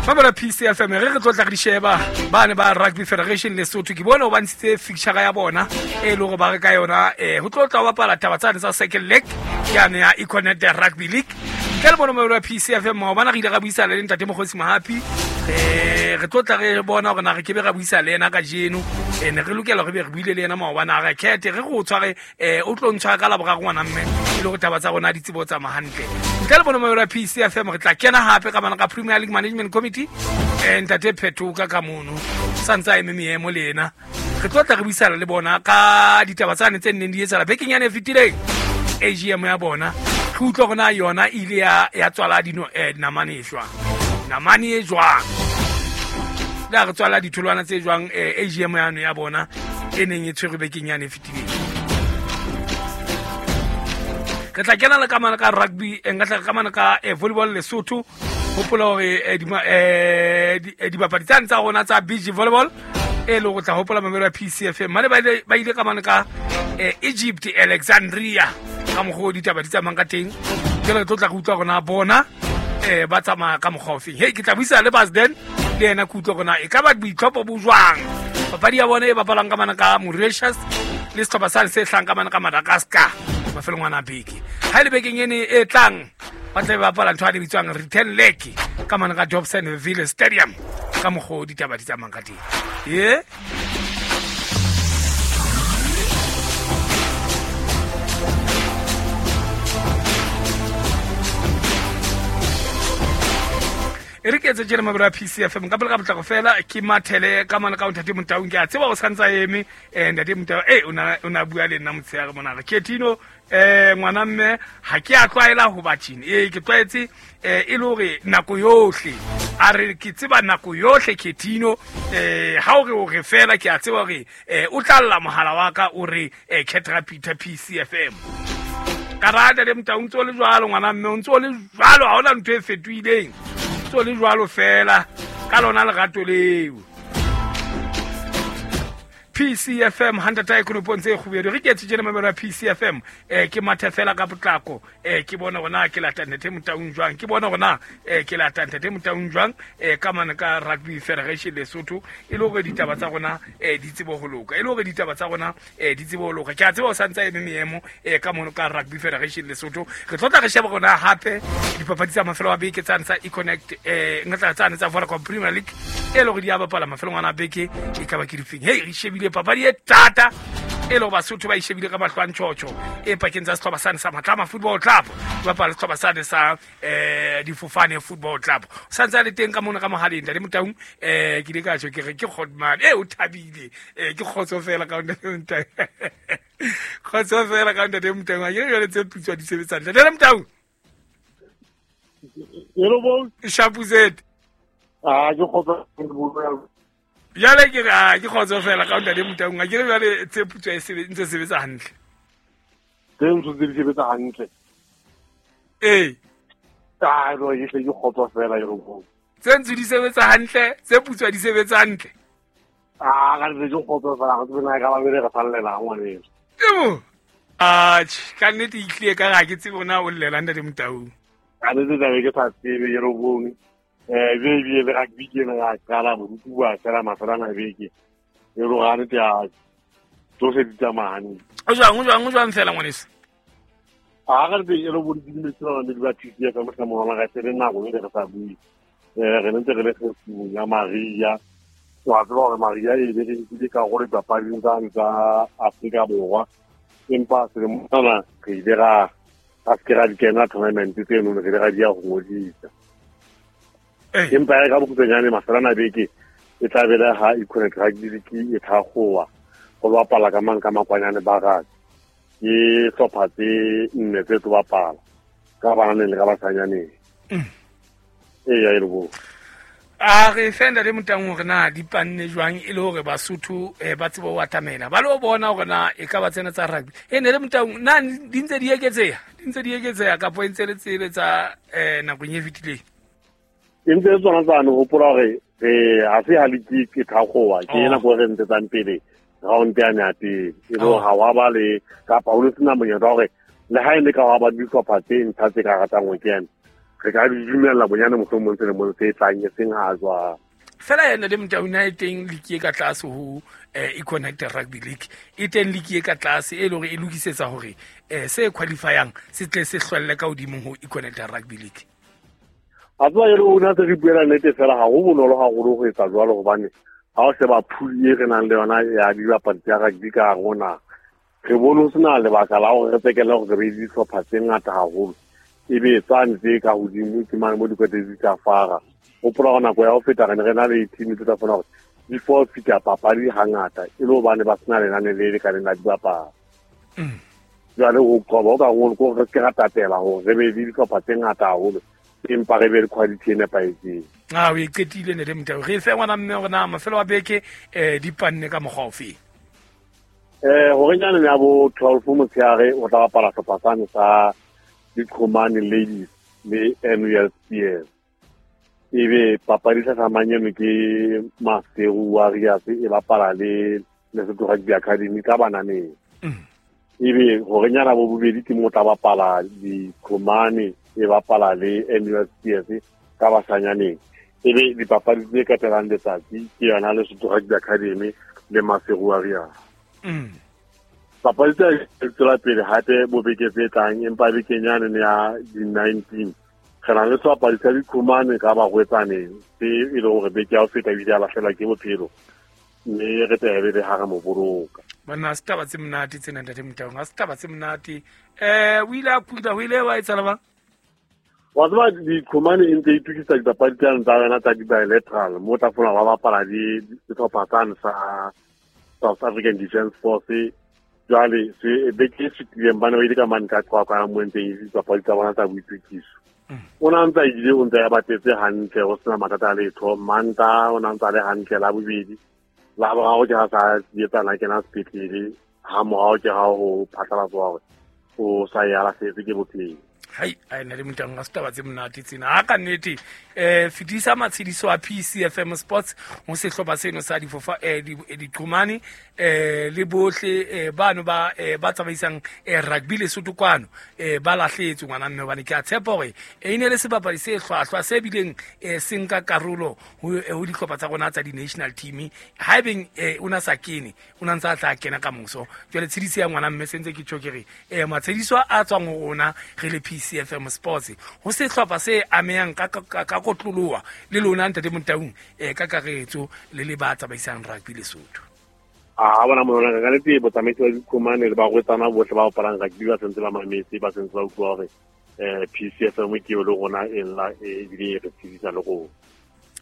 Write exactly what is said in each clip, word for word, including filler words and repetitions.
Mamela P C F M re re tlotla re di sheba ba ne ba Rugby Federation Lesotho ke bona o ba ntshitse fixture ya bona e le hore ba re ka yona eh ho tlotla ba bapala taba tsane tsa second leg yane ya Econet Rugby League. Ke le bona mamela P C F M maobane re ile ra buisana le ntate Mokgosi Mohapi eh re tlotla re bona hore na re ke be ra buisa le yena kajeno eh ne re lokela re be re buile le yena maobane a re khethe re go tshware eh o tlo ntshwara ka la boraro ngwana mme e le hore taba tsa rona di tsebo tsa mahantle. Ntle le bona mamela P C F M re tla kena hape ka bana ka Premier League Management Committee eh ntate Phetoka ka mono santsa eme meemo le yena re tlotla re buisana le bona ka ditaba tsane tse nneng di etsahala bekeng yane e fetileng A G M ya bona re utlwa hore na yona e ile ya ya tswala dino eh namane e jwang namane e jwang la re tswala ditholwana tse jwang eh A G M yano ya bona e neng e tshwerwe bekeng yane e fetileng. Re tla kena le kamano ka rugby e nka tla kamano ka eh, volleyball Lesotho hopola hore eh, eh, dibapadi tsane tsa rona tsa beach volleyball e le go tla hopola mamelo ya P C F M mane ba ile ba ile kamano ka eh, Egypt Alexandria ka mokgwa o ditaba di tsamayang ka teng ke re tlotla go utlwa rona bona eh ba tsamaya ka mokgwa ofeng. Hey ke tla buisa le Basden le yena ke utlwa rona e ka ba boitlhopho bo jwang papadi ya bona e bapalang ka mana ka Mauritius le sehlopha sane se hlang ka mana ka Madagascar mafelong ana beke ha ile bekeng ene e tlang ba tla ba bapala ntho a di bitswang return leg ka mana ka Dobsonville Stadium ka mokgwa o ditaba di tsamayang ka teng. Ye e re ke etse tjena mabelo a P C F M ka pele ka potlako fela ke mathele ka mana ka ntate Motaung ke a tseba o santsa eme eh ntate Motau eh o na o na bua le nna motshehare mona re Ketino eh ngwana mme ha ke a tlwaela ho ba tjene eh ke tlwaetse eh e le hore nako yohle a re ke tseba nako yohle Ketino eh ha o re o re fela ke a tseba hore eh o tla lla mohala wa ka o re eh Ketra Peter P C F M ka rata le Motaung ntso le jwalo ngwana mme o ntso le jwalo ha hona ntho e fetohileng le jwalo fela ka lona lerato leo. P C F M hundred konopo ntse e kgubedu re ke tjena mamelo ya P C F M eh ke mathe fela ka potlako eh ke bona hore ke lata ntate Motaung jwang ke bona hore eh ke lata ntate Motaung jwang eh ka mana ka Rugby Federation Lesotho e le hore ditaba tsa rona eh di tsebo ho loka e le hore ditaba tsa rona eh di tsebo ho loka ke a tseba o santsa eme meemo eh ka mono ka Rugby Federation Lesotho re tlotla re sheba rona hape dipapadi tsa mafelo a beke tsane tsa Econnect eh ngatla tsane tsa Vodacom Premier League e le hore di a bapala mafelong ana beke e ka ba ke difeng. Hey re shebile papadi e thata e le Basotho ba ishebile ka mahlo a ntjhotjho e pakeng tsa sehlopha sane sa Matlama Football Club ba bapala sehlopha sane sa eh Difofane Football Club santse a le teng ka mona ka mohaleng ntate Motaung eh ke ile ka tjho ke re ke Kgotman eh o thabile eh ke kgotso fela ka ntate Motaung kgotso fela ka ntate Motaung a ke jwale tse putswa di sebetsa ntate Motaung. Hello bo Shapuzet ah ke kgotso jale ke a ke kgotso fela ka ntate Motaung a ke re jale tse putswa e sebetsa ntse sebetsa hantle tse ntse di sebetsa hantle eh ah ro e tle ke kgotso fela e ro tse ntse di sebetsa hantle tse putswa di sebetsa hantle ah ka re ke kgotso fela ga tsena ka ba bere re sallela ngwane tebo ah ka nnete e tlile ka ga ke tsebe ona o llela ntate Motaung ka nnete taba ke sa tsebe e ro bone eh be be le rugby ke na qala borutu ba fela mafelana beke e ro ga ne tsa tsohle di tsamaya o jwang o jwang o jwang fela ngwaneso a ga re e ro bo di dimetsana le ba P C F M ka mona ga tsere nako e re sa bui eh re ntse re le go ya Maria wa tseba hore Maria e be re di ka gore papading tsa tsa Afrika Borwa empa se mona re ile ra a se ra di kena tournament tseno re ile ra di ya go ngodisa empa e ka bokhutsanyane mafelana beke e tla bela ha Econet Rugby League e thagoa go bapala ka mang ka makwanyane ba gase ke hlopha tse nne tse tlo bapala ka bananeng le ka basanyaneng ee ya e le bo a re fenda le Motaung hore na di panne jwang e le hore Basotho eh, ba tsebe ho atamela ba lo bona hore na e ka ba tsena tsa rugby e ne le Motaung na di ntse di eketseha di ntse di eketseha kapo e ntse le tsele tsa eh, nakong e fetileng e ntse tsona tsane hopola hore re ha se ha le ke thagoa ke ena go re ntse tsang pele round ya ya pele e le ha wa ba le kapa o le sena monyetla hore le ha e le ka wa ba dihlopha tse ntsha tse ka ratang ho kena Re ka di dumella bonyane mohlomong selemong se tlang, e seng ha jwang. Fela yena le Motaung e teng league e ka tlase ho eh Econnect Rugby League, e teng league e ka tlase e le hore e lokisetsa hore eh se qualifyang se tle se hlwelle ka hodimo ho Econnect Rugby League. A tswa e le rona se re buela nnete fela, ha ho bonolo haholo ho etsa jwalo, hobane ha o sheba pool e re nang le yona ya dibapadi tsa rugby ka hare ho naha, re bone ho sena lebaka la hore re tsekele hore re be le dihlopha tse ngata haholo, ebe tsane tse ka hodimo ke mane mo dikwete di tla fara. Hopola hore nako ya ho feta re ne re na le team tse tla fona hore di forfeita papadi hangata, e le hobane ba sena lenane le lekaneng la dibapadi. Jwale ho qoba ho ka ngolo ko re se ke ra tatela hore re be le dihlopha tse ngata haholo, empa re be le quality e nepahetseng. Ah, o e qetile ne le Motaung. Re fe ngwana mme hore na mafelo a beke eh di panne ka mokgwa ofe. Eh hore nyane ya bo twelve motshehare o tla bapala sehlopha sane sa Diqhomane Ladies le N U L Spears. Ebe papadi hlahlamang eno ke Maseru Warriors e bapala le Lesotho Rugby Academy ka bananeng. Ebe hore nyana bo bobedi ke mo tla bapala Diqhomane e bapala le N U L Spears ka basanyaneng. Ebe dipapadi tse katelang letsatsi ke yona Lesotho Rugby Academy le Maseru Warriors. Papadi tse tswela pele hape bo beke tse tlang, empa bekeng yane ya di nineteen re na le sebapadi sa Diqhomane ka barwetsaneng se e leng hore beke ya ho feta ebile a lahlehelwa ke bophelo, mme re tla be re ha re mo boloka. Banna ha se taba tse monate tsena ntate Motaung, ha se taba tse monate. Eh o ile a kula, ho ile wa etsahala bang? Wa tseba Diqhomane e ntse e itukisa dipapadi tsane tsa yona tsa di-bilateral, mo tla fumana ba bapala le sehlopha sane sa South African Defence Force. Jwale se beke e fetileng ba ne ba ile ka mane ka Qwaqwa mo ntseng e dipapadi tsa bona tsa boitukiso. O na ntse a ile o ntse a batetse hantle, ho sena mathata a letho. Manta o na ntse a le hantle la bobedi, la boraro ke ha sa etsana kena sepetlele, ha morao ke ha ho phatlalatswa hore o sa ya lahlehetswe ke bophelo. Hai, ai na le Motaung, ha se taba tse monate tsena. Ha ka nnete eh fetisa matshediso a P C F M Sports ho sehlopha seno sa difofa eh Diqhomane eh le bohle eh bano ba eh ba tsamaisang eh rugby Lesotho kwano eh ba lahletswe ngwana mme, hobane ke a tshepa hore e ne le sebapadi se hlwahlwa se bileng eh se nka karolo ho ho dihlopha tsa rona tsa di-national team. Haebeng eh o na sa kene, o na ntse a tla kena ka moso. Jwale tshediso ya ngwana mme sentse ke tjho ke re eh matshediso a tswang ho rona re le P C F M Sports ho sehlopha se amehang ka ka kotloloha le lona ntate Motaung eh ka karetso le le ba tsamaisang rugby Lesotho. A bona mona ka nnete botsamaisi ba Diqhomane le barwetsana bohle ba bapalang rugby ba sentse ba mametse, ba sentse ba utlwa hore eh P C F M ke le rona e lla ebile re tshedisa le rona.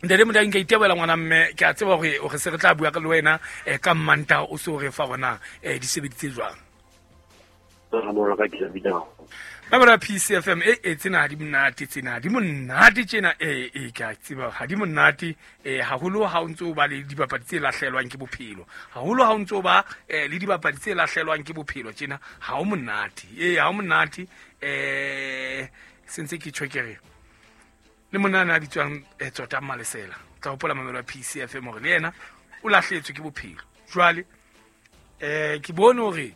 Ntate Motaung, ke itebela ngwana mme, ke a tseba hore o re se re tla bua ka le wena eh ka Manta o so re fa rona eh di sebeditse jwang. Ba P C F M e e tsena di monate, tsena di monate tjena e e ka tseba ha di monate eh haholo ha o ntso ba le dibapadi tse lahlelwang ke bophelo, haholo ha o ntso ba le dibapadi tse lahlelwang ke bophelo tjena ha o monate, eh ha o monate. Eh sentse ke tjho ke re le monana a bitswang Tsota Malesela, tla hopola mamelo ya P C F M hore le yena o lahletswe ke bophelo. Jwale eh ke bone hore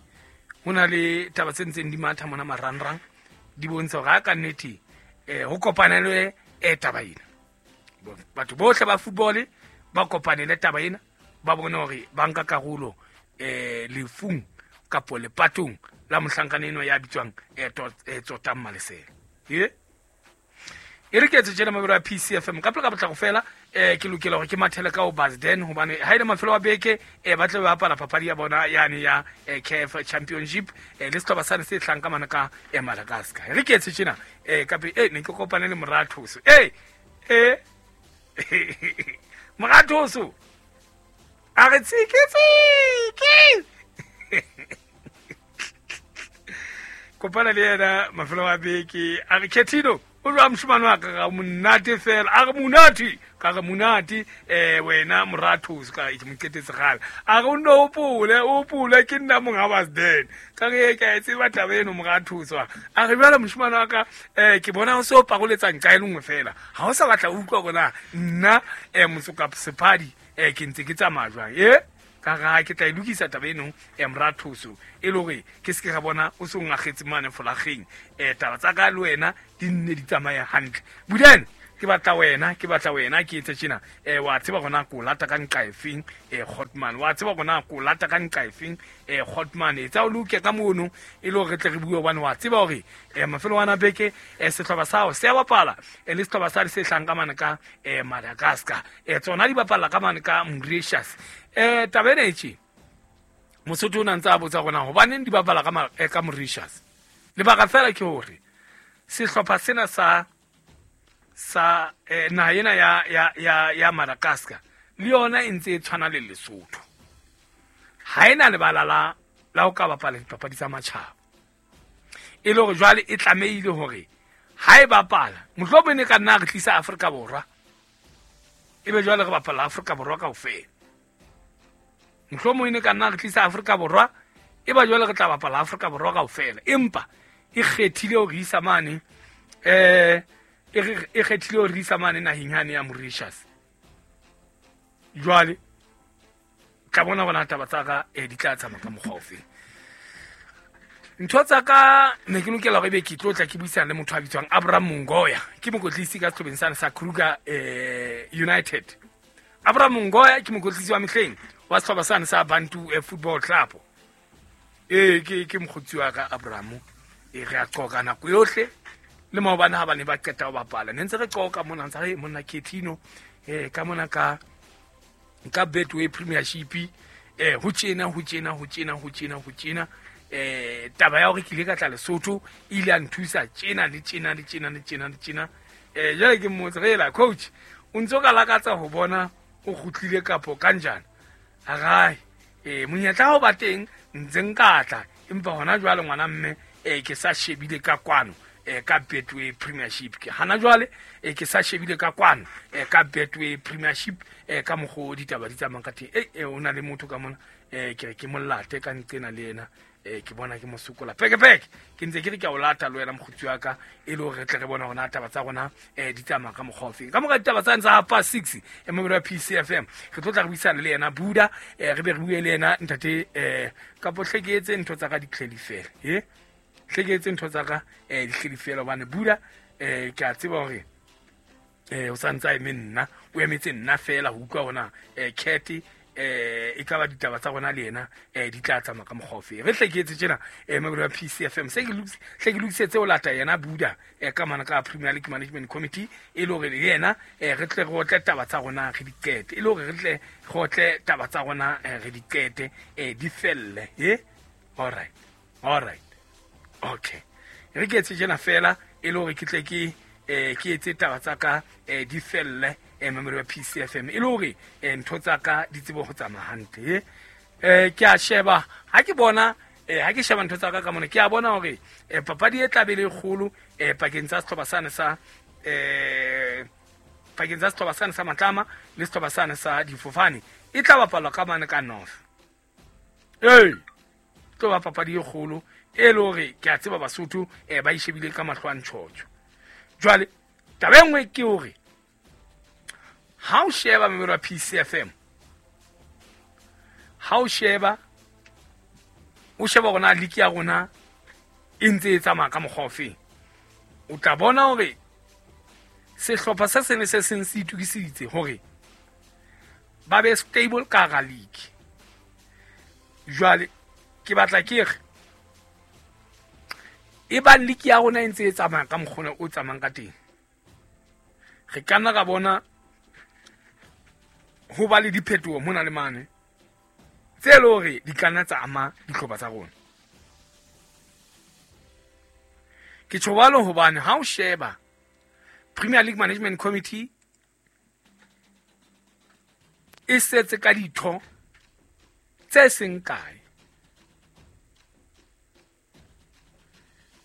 ho na le taba tse ntseng di matha mona marangrang di bontsha hore ha ka nnete eh ho kopanelwe eh taba ena, batho bohle ba football ba kopanele taba ena, ba bone hore ba nka karolo eh lefung kapo lepatong la mohlankana eno ya bitswang eh Tsota Malesela. E e re ke etse tjena mabelo a P C F M ka pele ka potlako fela eh ke lokela hore ke mathele ka ho Basden, hobane ha ile mafelo a beke eh ba tle ba bapala papadi ya bona yane ya eh, K F Championship eh le sehlopha sane se hlang ka mana ka eh, Madagascar. Re ke etse tjena eh ka eh ne ke kopane le Morathoso eh eh Morathoso a re tsiki tsiki kopana le yena mafelo a beke a re Ketino o jwa moshimane wa ka ga monate fela, a re monate ka re monate eh wena Morathoso ka ke mo qetetse gale, a re o nno opole opole ke nna monga Basden ka re ke a tseba taba eno Morathoso, a re jwale moshimane wa ka eh ke bona o se o pakoletsang ka e lengwe fela, ha o sa batla o utlwa bona nna eh Motsoka Sephadi eh ke ntse ke tsamaya jwang eh Ka ga ke tla e lokisa taba eno eh morathoso e le hore ke se ke ga bona o se o ngagetse mane folageng eh taba tsa ka le wena di nne di tsamaya hantle Budane ke batla wena ke batla wena ke etse tjena eh wa tseba gona ko lata ka nqa efeng eh Hotman wa tseba gona ko lata ka nqa efeng eh Hotman e tsa o loke ka mono e le hore re tle re bue hobane wa tseba hore eh mafelo ana beke eh sehlopha sa hao se a bapala eh le sehlopha sa se hlang ka mane ka eh Madagascar eh tsona di bapala ka mane ka Mauritius eh taba ena e tje Mosotho o na ntse a botsa gona hobaneng di bapala ka eh, ka Mauritius lebaka fela ke hore sehlopha sena sa sa eh, naha ena ya ya ya ya Madagascar le yona e ntse e tshwana le Lesotho ha ena lebala la la ho ka bapala dipapadi tsa matjhaba e le hore jwale e tlamehile hore ha e bapala mohlomong e ka nna re tlisa Afrika Borwa ebe jwale re bapala Afrika Borwa kaofela mohlomong e ka nna re tlisa Afrika Borwa e ba jwale re tla bapala Afrika Borwa kaofela empa e kgethile hore isa mane eh e kgethile hore isa mane naheng yane ya Mauritius jwale tla bona bona taba tsa ka eh di tla tsamaya ka mokgwa ofe ntho tsa ka ne ke lokela hore ebe ke tlo tla ke buisana le motho a bitswang Abraham Mongoya ke mokotlisi ka sehlobeng sane sa Kruger eh United Abraham Mongoya ke mokotlisi wa mehleng wa sehlopha sane sa Bantu eh, Football Club eh ke ke mokgotsi wa ka Abraham e re a qoka nako yohle le maobane ha ba ne ba qeta ho bapala ne ntse re qoka mona ntse re monna Ketino eh ka mona ka ka Betway Premiership eh ho tjena ho tjena ho tjena ho tjena ho tjena eh taba ya hore ke ile ka tla Lesotho ile a nthusa tjena le tjena le tjena le tjena le tjena eh jwale ke mmotse re la coach o ntso ka lakatsa ho bona o kgutlile kapo kanjana agai eh monyetla ho ba teng ntse nka tla empa hona jwale ngwana mme eh ke sa shebile ka kwano eh ka Betway Premiership ke hana jwale eh ke sa shebile ka kwano eh ka Betway Premiership eh ka mokgo ditaba di tsamayang ka teng eh o na le motho ka mona eh ke re ke molate ka nqena le yena eh ke bona ke mosokola peke peke ke ntse ke re ke a o lata le wena mokgotsi wa ka e le hore re tle re bona hona taba tsa rona eh di tsamaya ka mokgwa ofeng ka mora ditaba tsa ntsa half past six e mobile wa P C F M re tlo tla re buisana le yena Buda eh re be re bue le yena ntate eh kapo hle ke etse ntho tsa ka di tlheli fela eh hle ke etse ntho tsa ka eh di tlheli fela hobane Buda eh ke a tseba hore eh o sa ntse a eme nna o emetse nna fela ho utlwa hona eh Cat eh e ka ba ditaba tsa rona le yena eh di tla tsamaya ka mokgwa ofe re hle ke etse tjena eh mobile wa P C F M se ke lokise hle ke lokisetse o lata yena Buda eh ka mana ka Premier League Management Committee e le hore le yena eh re tle re otle taba tsa rona re di qete e le hore re tle re otle taba tsa rona re di qete eh di felle eh all right all right okay re ke etse tjena fela e le hore ke tle ke eh ke etse taba tsa ka eh di felle eh memory wa P C F M e le hore ntho tsa ka di tsebe ho tsamaya hantle eh ke a sheba ha ke bona eh ha ke sheba ntho tsa ka ka mona ke a bona hore eh papadi e tla be le kgolo eh pakeng tsa sehlopha sane sa eh pakeng tsa sehlopha sane sa Matlama le sehlopha sane sa Difofane e tla bapalwa ka mane ka North eh tlo ba papadi e kgolo e le hore ke a tseba Basotho eh ba ishebile ka mahlo a ntjhotjho jwale taba e nngwe ke hore ha o sheba memero ya P C F M ha o sheba o sheba rona league ya rona e ntse e tsamaya ka mokgwa ofeng o tla bona hore sehlopha se seng le se seng se itokiseditse hore ba be stable ka hara league jwale ke batla ke re e bang league ya rona e ntse e tsamaya ka mokgwa o tsamayang ka teng re ka nna ra bona ho ba le diphetoho mona le mane tse le hore di ka nna tsa ama dihlopha tsa rona ke tjho jwalo hobane ha o sheba Premier League Management Committee e setse ka ditho tse seng kae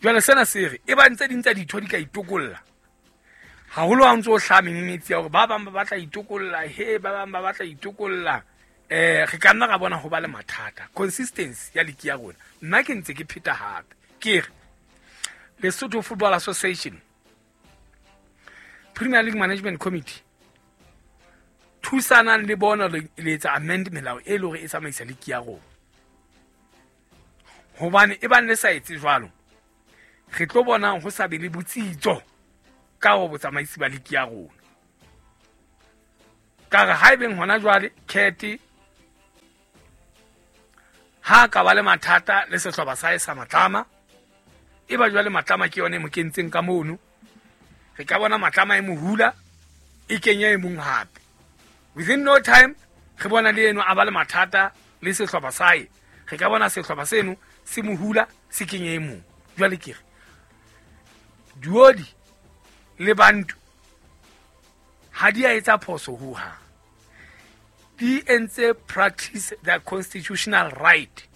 jwale sena se re e ba ntse ding tsa ditho di ka itokolla haholo ha ntse o hlaha menyenyetsi ya hore ba bang ba batla itokolla he ba bang ba batla itokolla eh re ka nna ra bona ho ba le mathata consistency ya league ya rona nna ke ntse ke pheta hape ke re Lesotho Football Association Premier League Management Committee Thusanang le bona le etsa amend melao e le hore e tsamaisa liki ya rona. Hobane e bang le sa etse jwalo, re tlo bona ho sa be le botsitso ka ho botsamaisi ba liki ya rona. Ka re haebeng hona jwale Kete ha ka ba le mathata le sehlopha sa hae sa Matlama, e ba jwale Matlama ke yone e mo kentseng ka mono. Re ka bona Matlama e mohula e kenya e mong hape. Within no time re bona le eno a ba le mathata le sehlopha sa hae. Re ka bona sehlopha seno se mohula se kenya e mong. Jwale ke re Duodi le Bantu ha di a etsa phoso ho hang. Di entse practice their constitutional right.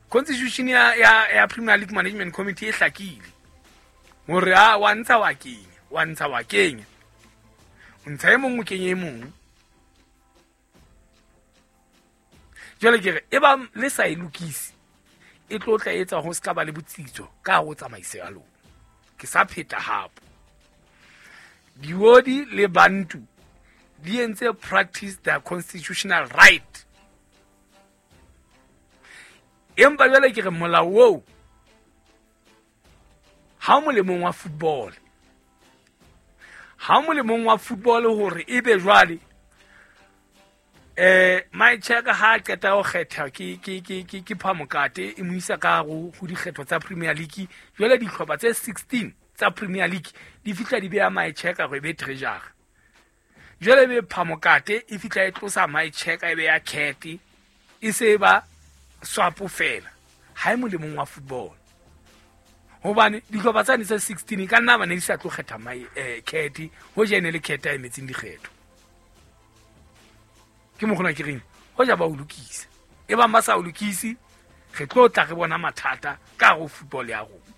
Constitution ya ya, ya Premier League Management Committee e hlakile hore a wa ntsha wa kenya, wa ntsha wa kenya. O ntsha e mong o kenye e mong. Jwale ke re e ba le sa e lokise e tlo tla etsa ho ska ba le botsitso ka ho tsamaisa ya lona. Ke sa pheta hape. Diodi le Bantu di entse practice their constitutional right. Empa jwale ke re molao oo ha o molemong wa football. Ha o molemong wa football hore ebe jwale eh my check ha qeta ho kgetha ke ke ke ke ke Phamokate e mo isa ka ho dikgetho tsa Premier League. Jwale dihlopha tse sixteen tsa Premier League di fihla di beha my check hore e be treasurer. Jwale be Phamokate e fihla e tlosa my check e be ya Kete e se ba swap fela. Ha e molemong wa football. Hobane dihlopha tsane tse sixteen ka nna ba ne di sa tlo kgetha my eh Kete ho jene le Kete a emetseng dikgetho. Ke mo gona ke reng ho ja ba o lokisa. E bang ba sa o lokisi re tlo tla re bona mathata ka ho football ya rona.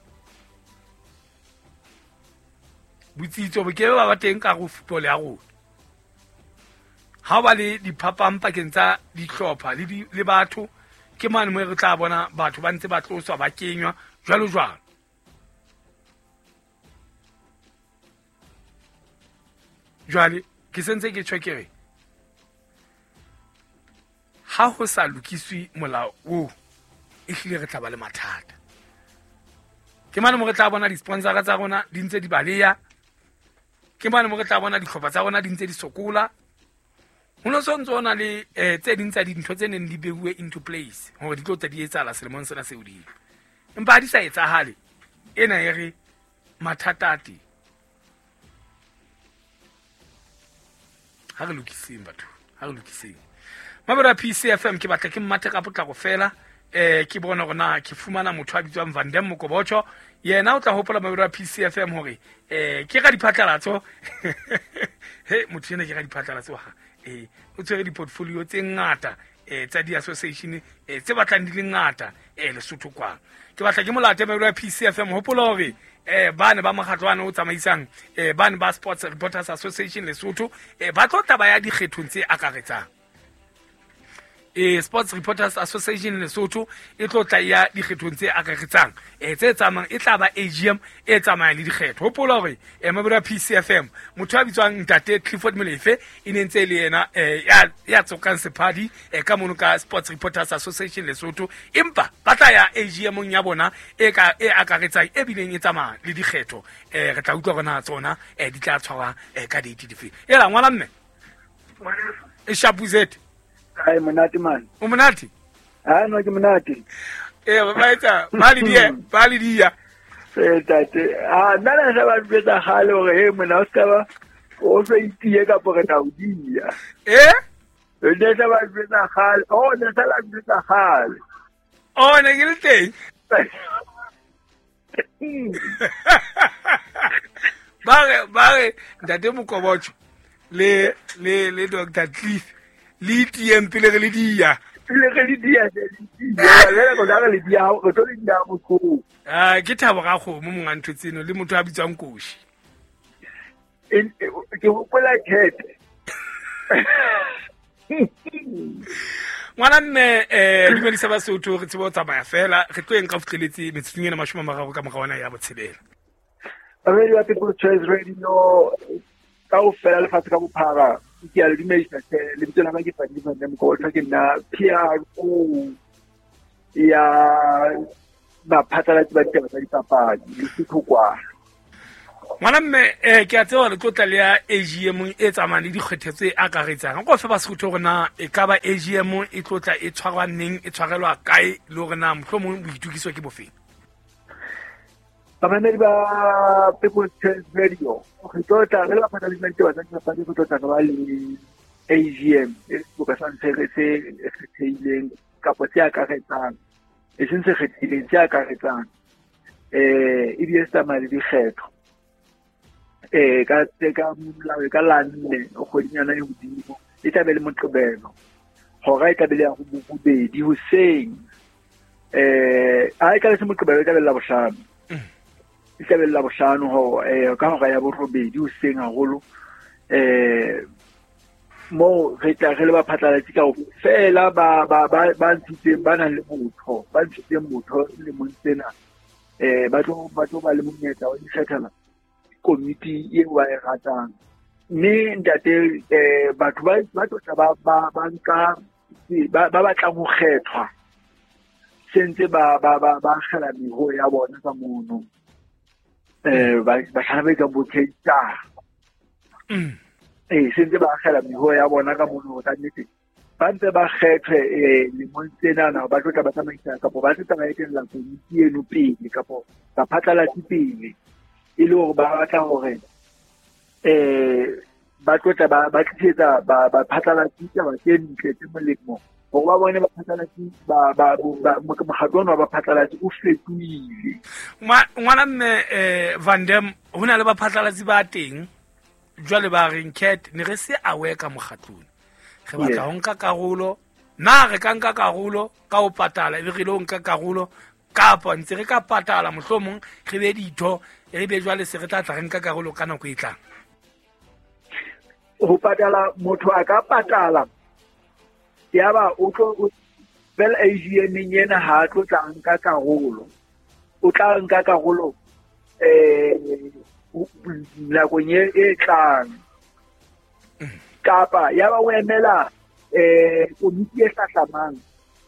Botsitso bo ke ba ba teng ka ho football ya rona. Ha ba le diphapang pakeng tsa dihlopha le di, le batho ke mane mo re tla bona batho ba ntse ba tloswa ba kenywa jwalo jwalo. Jwale ke sentse ke tjho ke re ha ho sa lokiswe molao oo e hlile re tla ba le mathata. Ke mane mo re tla bona di-sponsor tsa rona di ntse di baleya. Ke mane mo re tla bona dihlopha tsa rona di ntse di sokola. Ho no so ntso na le eh tse ding tsa dintho tse neng di beuwe into place hore di tlo tla di etsahala selemong sena se hodimo. Empa ha di sa etsahale ena e re mathata a teng. Ha re lokiseng batho, ha re lokiseng. Mabera P C F M ke batla ke mmathe ka potlako fela eh ke bona hore na ke fumana motho a bitswang Van Dam Mokobocho. Yena o tla hopola Mabera P C F M hore eh ke ka diphatlalatso. He motho ena ke ka diphatlalatso ha eh o tshwere di-portfolio tse ngata eh tsa di-association eh tse batlang di le ngata eh Lesotho kwa. Ke batla ke molate Mabera P C F M hopola hore eh bane ba mokgatlo wa o tsamaisang eh bane ba Sports Reporters Association Lesotho eh ba tlo taba ya dikgethong tse akaretsang. E Sports Reporters Association Lesotho e tlo tla ya dikgethong tse akaretsang e tse tsamayang e tla ba A G M e tsamayang le dikgetho. Hopola hore eh Mabura P C F M motho a bitswang Ntate Clifford Molefe e ne ntse le yena eh ya ya tsokang sephadi eh ka mono ka Sports Reporters Association Lesotho, empa ba tla ya A G M ya bona e ka e akaretsang e bileng e tsamaya le dikgetho. Eh re tla utlwa rona tsona eh di tla tshwara eh ka date dife. Ela ngwana mme e shapuzete. Ai monate man. O monate? Ah no ke monate. Eh ba etsa ba le dia, ba le dia. Eh tate, ah nna na sa ba betsa gale hore he mona o ska ba o se itie ka pore ta o dia. Eh? Ne sa ba betsa gale, oh ne sa la betsa gale. Oh ne ke le teng. Ba re ba re Ntate Mokobocho le le le Doctor Cliff le T M pele re le dia. Pele re le dia le dia. Le go le dia go tlo le dia botlhoko. Ah ke thabo ga kgomo monga ntho tseno le motho a bitswang Koshi. Ke hopola Kete. Ngwana mme eh dumedisa Basotho re tsebe ho tsamaya fela re tlo eng ka futleletse metsotsong ena mashome a mararo ka mora ona ya botshelela. Radio People's Choice Radio Kaofela lefatshe ka bophara ke a le dumedisa hle. Lebitso la ka ke Fadi Van Dam Mokotla, ke nna P R O ya baphatlalatsi ba ditaba tsa dipapadi Lesotho kwa. Ngwana mme eh ke a tseba le tlotla le ya A G M e tsamayang le dikgetho tse akaretsang. Nko fe Basotho hore na e ka ba A G M e tlotla e tshwarwa neng, e tshwarelwa kae, le hore na mohlomong boitokiso ke bofeng? Bamamedi ba People's Choice Radio, re tlotla re le baphatlalatsi ba ditaba tsa dipapadi, re tlotla re ba le A G M e seboka sa ntshe se kgethehileng kapa se akaretsang, e seng se kgethehileng, se akaretsang, eh ebile se tsamaya le dikgetho. Eh ka ka molao ka la nne kgwedinyana e hodimo, e tla be le Moqebelo, hora e tla be le ya bobedi hoseng. Eh ha e tla be se Moqebelo, e tla be le Labohlano, e tla be le Labohlano ho eh ka hora ya borobedi hoseng haholo. Eh mo re tla re le baphatlalatsi kaofela ba ba ba ba ntshitseng, ba nang le botho, ba ntshitseng botho lemong sena, eh ba tlo ba tlo ba le monyetla wa ikgethela komiti eo ba e ratang. Mme ntate eh batho ba ba tlo ba ba ba nka ba ba batlang ho kgethwa sentse ba ba ba ba kgela meho ya bona ka mono, eh ba ba hlana ba ka bothetsa eh sentse ba kgela meho ya bona ka mono ka nnete ba ntse ba kgethwe eh lemong tsena, ba tlo tla ba tsamaisa kapa ba tlo tla ba etella komiti eno pele kapa ba phatlalatsi pele, e le hore ba batla hore eh ba tlo tla ba ba tlisetsa ba ba phatlalatsi taba tse ntle tse molemo, hore ba bone baphatlalatsi ba ba mokgatlo ona wa baphatlalatsi o fetohile. Ngwana mme eh Van Dam, ho na le baphatlalatsi ba teng jwale ba reng cat ne re se aware ka mokgatlong, re batla ho nka karolo, na re ka nka karolo ka ho patala ebe re lo nka karolo, kapa ntse re ka patala mohlomong re be ditho, re be jwale se re tla tla re nka karolo ka nako e tlang? Ho patala, motho a ka patala yaba o tlo fela A G M ena ha tlo tla nka karolo, o tla nka karolo eh nakong e tlang, kapa yaba o emela eh komiti e hlahlamang,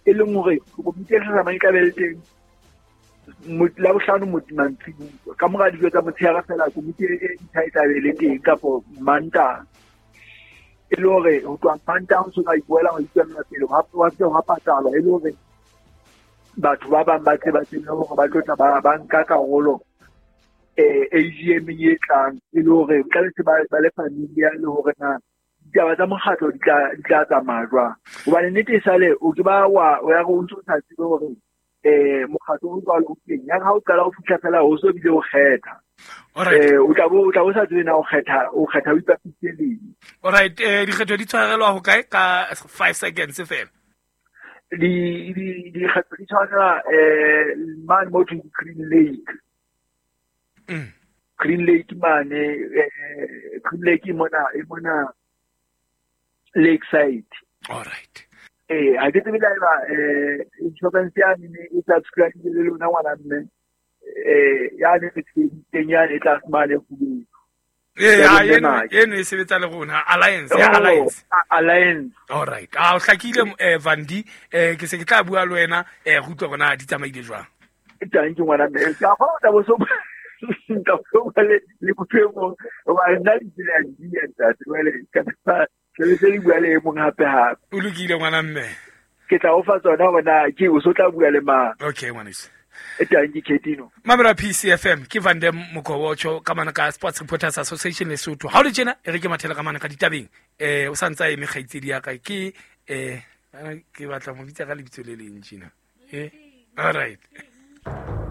e leng hore komiti e hlahlamang e tla be le teng Labohlano mantsibuya ka mora dijo tsa motshehare fela, komiti e ntjha e tla be le teng kapo Mantaha, e le hore ho tloha Mantaha ho so ka ipoela ho itswella pele wa se wa patalwa, e le hore batho ba bang ba tle ba tsebe hore ba tlo tla ba ba nka karolo eh A G M e tlang, e le hore tla be se ba ba le familia le hore na ditaba tsa mokgatlo di tla di tla tsamaya jwang. Hobane nnete e sale o ke ba wa o ya re o ntso sa tsebe hore eh mokgatlo o jwalo o teng, ya ha o qala o fihla fela o so bile o kgetha, eh o tla bo o tla bo sa tsebe na o kgetha o kgetha o ipapisitse leng. Alright, eh dikgetho di tshwarelwa ho kae ka five seconds fela? Di di dikgetho di tshwarelwa eh mane mo thweng Green Lake. Mm. Green Lake mane, eh Green Lake e mona e mona Lakeside. All right. Eh ha ke tsebe la eba eh insurance ya ne e subscribe le lona ngwana mme eh ya ne teng ya ne tla mane go bue. Eh ya eno eno e sebetsa le rona Alliance ya Alliance. Alliance. All right. Ah o hlakile eh Vandi, eh ke se ke tla bua le wena eh go utlwa rona di tsamaile jwang. Thank you ngwana mme. Ka go tla bo so ka go le le motho wa nna le tsela di ya ntate wele ka ke le se bua le mong hape hape. O lokile ngwana mme. Ke tla o fa tsona hore na ke o so tla bua le mang. Okay ngwaneso. E tang ke Ketino. Mamela P C F M ke Van Dam Mokobotjho ka mana ka Sports Reporters Association Lesotho. Ha o le tjena e re ke mathela ka mana ka ditabeng. Eh o santsa eme kgaitsedi ya ka ke eh ke batla mo bitsa ka lebitso le leng tjena. Eh all right.